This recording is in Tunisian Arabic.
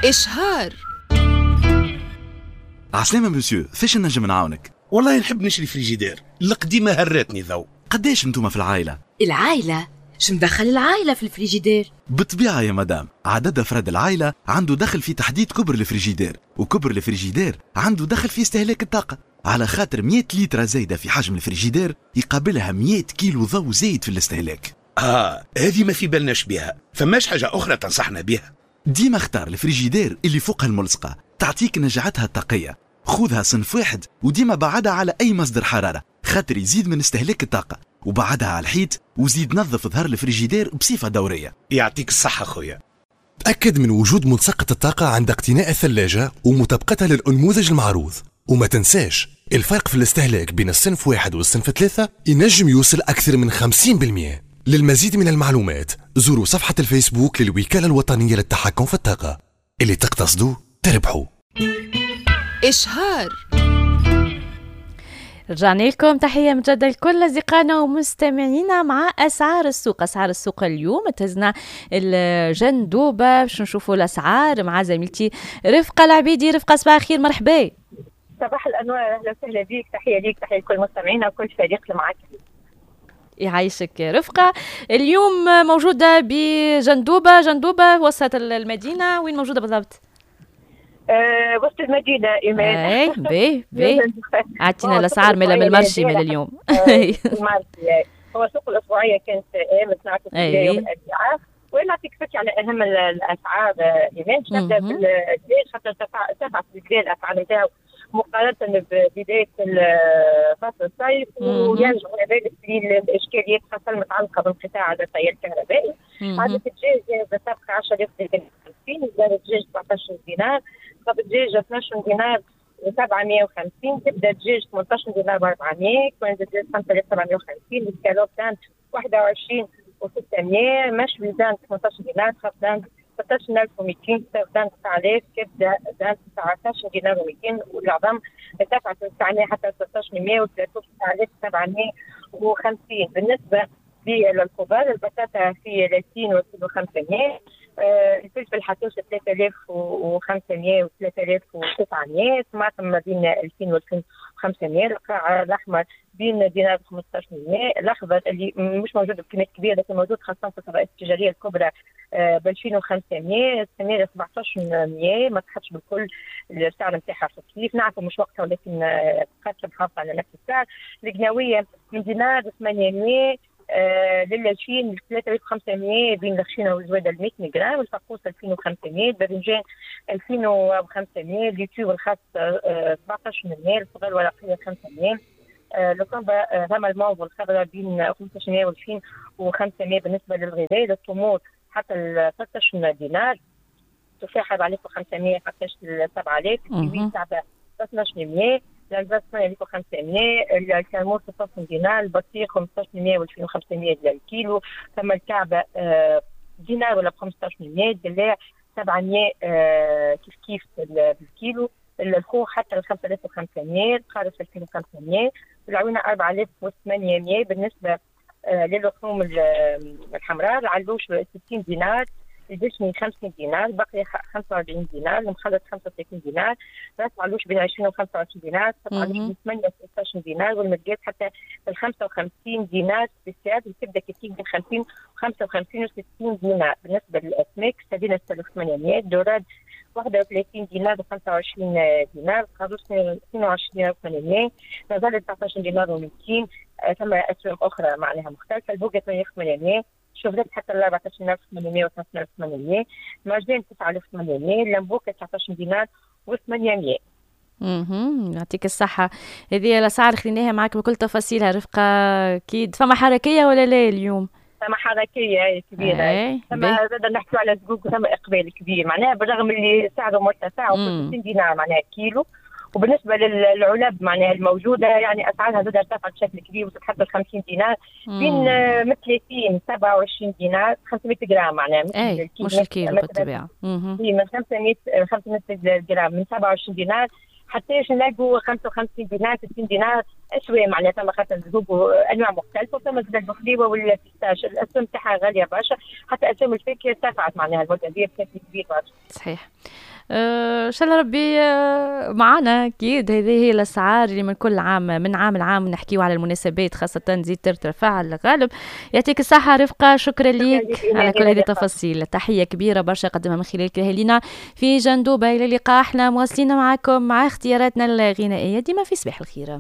إشهار. عسلامة مسيو، فاش نجم نعاونك؟ والله نحب نشري فريجيدير، القديمة هرتني ذو. قداش انتوما في العائلة؟ العائلة؟ شو مدخل العائلة في الفريجيدير؟ بالطبيعة يا مدام، عدد أفراد العائلة عنده دخل في تحديد كبر الفريجيدير، وكبر الفريجيدير عنده دخل في استهلاك الطاقة، على خاطر 100 لتر زايدة في حجم الفريجيدير يقابلها 100 كيلو ضوء زايد في الاستهلاك. هذه ما في بالناش بها، فماش حاجة أخرى تنصحنا بها؟ ديما اختار الفريجيدير اللي فوقها الملصقة، تعطيك نجاعتها الطاقية. خذها صنف واحد وديما بعدها على أي مصدر حرارة، خاطر يزيد من استهلاك الطاقة، وبعدها على الحيط، وزيد نظف ظهر الفريجيدير بصفة دورية. يعطيك الصحة خويا. تأكد من وجود ملصقة الطاقة عند اقتناء الثلاجة ومطابقتها للأنموذج المعروض. وما تنساش الفرق في الاستهلاك بين الصنف 1 والصنف 3 ينجم يوصل أكثر من 50%. للمزيد من المعلومات زوروا صفحة الفيسبوك للوكالة الوطنية للتحكم في الطاقة. اللي تقتصدوا تربحوا. إشهار. رجعنا لكم، تحية مجددة لكل أصدقائنا ومستمعينا مع أسعار السوق. أسعار السوق اليوم تهزنا الجندوبة باش نشوفوا الأسعار مع زميلتي رفقة العبيدي. رفقة صباح الخير، مرحبا. صباح الأنوار، أهلا وسهلا بك، تحية ليك، تحية لكل مستمعينا وكل فريق اللي معك. يعيشك رفقة. اليوم موجودة بجندوبة، جندوبة وسط المدينة، وين موجودة بالضبط؟ وسط المدينة إيمان. اي بي بي عطينا الأسعار من ال marché من اليوم. ال marché هو السوق الأسبوعية كانت أيام يوم الأربعاء، ونعطيك فكرة على أهم الأسعار إيمان. نبدأ بالدجاج خاطر ارتفعت بالكبير الأسعار نتاعو مقارنة ببداية فصل الصيف، ويرجع ذلك للإشكاليات خاصة المتعلقة بانقطاع التيار الكهربائي. عدد الدجاج بالطبخ 10,50، الدجاج 17 دينار، طب الدجاج 12 دينار و750، تبدا الدجاج 18 دينار و400، كوين الدجاج 5750، السكالوب dinde 21 و600، مشوي dinde 18 دينار، خف dinde 16200، dinde 9000، كبده dinde 19 دينار و200، والعظام ارتفعت 900 حتى 1600 و 3750. بالنسبة للخضار، البطاطا في 30 و500، الفلفل حتوش 3500 و 3900، الطماطم ما بين 2000 و 2500، القرع الاحمر بين دينار 1500، الاخضر اللي مش موجود بكميات كبيرة لكن موجود خاصة في الفضاءات التجارية الكبرى ب 2500، السميره 1700، ما تحطش بالكل السعر نتاعها في الصيف، نعرفوا مش وقتها ولكن بقات محافظة على نفس السعر. القناويه من دينار 800 لل 3500 بين الخشينه والزواده 100 غرام، الفقوس 2500، الباذنجان 2500، اليوتيوب الخاص 1700، الخضار الورقية 500، الكومبا رمى الموز والخضراء بين 1500 و 2500. بالنسبة للغذاء، التمور حتى 16 دينار، التفاح 4500 حتى 7000، الكيوي 1200، الألباس 8500، الكرموس 16 دينار، البطيخ 1500 و 2500 ديال الكيلو، ثم الكعبة دينار ولا ب 1500، الدلاع 700 كيف كيف بالكيلو، الخوخ حتى 5500، القارص 2500، العوينة 4800. بالنسبة للحوم الحمراء، العلوش 60 دينار، الجشمي 50 دينار، البقري 45 دينار، المخلط 35 دينار، راس علوش بين 20 و 25 دينار، سبع علوش بين 8 و 16 دينار، والمرقات حتى 55 دينار بالسعر، وتبدا كتير بين 50 و 55 و 60 دينار. بالنسبة للاسماك، السردين 6800، الدوراد 31 دينار و 25 دينار، القاروص 22 دينار و 800، نزل 19 دينار و 200، ثم اسواق اخرى معناها مختلفة، البوكه 8800، شوفرات حتى 14800 و 5800، مرجان 9800، اللمبوكه 19 دينار و 800. يعطيك الصحة. هذه الأسعار خليناها معك بكل تفاصيلها رفقة. أكيد فما حركية ولا لا اليوم؟ فما حركية كبيرة، ثم زاد نحكيو على زقوق، ثم إقبال كبير معناها بالرغم اللي سعره مرتفع 60 دينار معناها كيلو. وبالنسبة للعلب معناها الموجودة يعني اسعارها زاد ارتفعت بشكل كبير، وصلت حتى 50 دينار، بين من 30 27 دينار 500 غرام معناها، مش الكيلو بالطبيعة، من 500 غرام من 27 دينار حتى نلاقوا 55 دينار 60 دينار اسوام معناها ثم خاطر الزبوب انواع مختلفة، وثم زاد البخليوه وال pistache الاسوام تاعها غالية برشا، حتى اسوام الفاكهة ارتفعت معناها المدة هذه بشكل كبير برشا. صحيح. ان شاء الله ربي معنا. اكيد هذه هي الاسعار اللي من كل عام، من عام لعام نحكيو على المناسبات خاصة تزيد ترتفع على الغالب. يعطيك الصحة رفقه، شكرا لك على كل هذه التفاصيل. تحية كبيرة برشا قدمها من خلالك لنا في جندوبه. الى اللقاء، احنا مواصلين معكم مع اختياراتنا الغنائية ديما في صباح الخير.